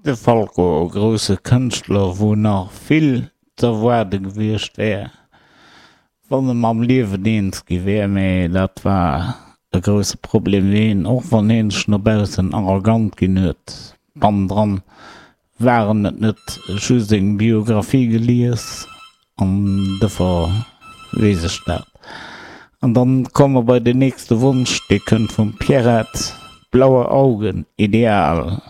De Falco, e grousse Kënschtler, wou nach vill z'erwaarde gewiescht wär, wann e mam Liewen eens gi wär, mä dat war e grousse Problem fir hien, och wann hien sech no baussen arrogant ginn huet. Bannendran war en et net, ech hu seng Biographie gelies an dofir weess ech dat. An dann komme mer bei den nächste Wonsch, dee kënnt vum Pierrette, Blaue Augen, ideal.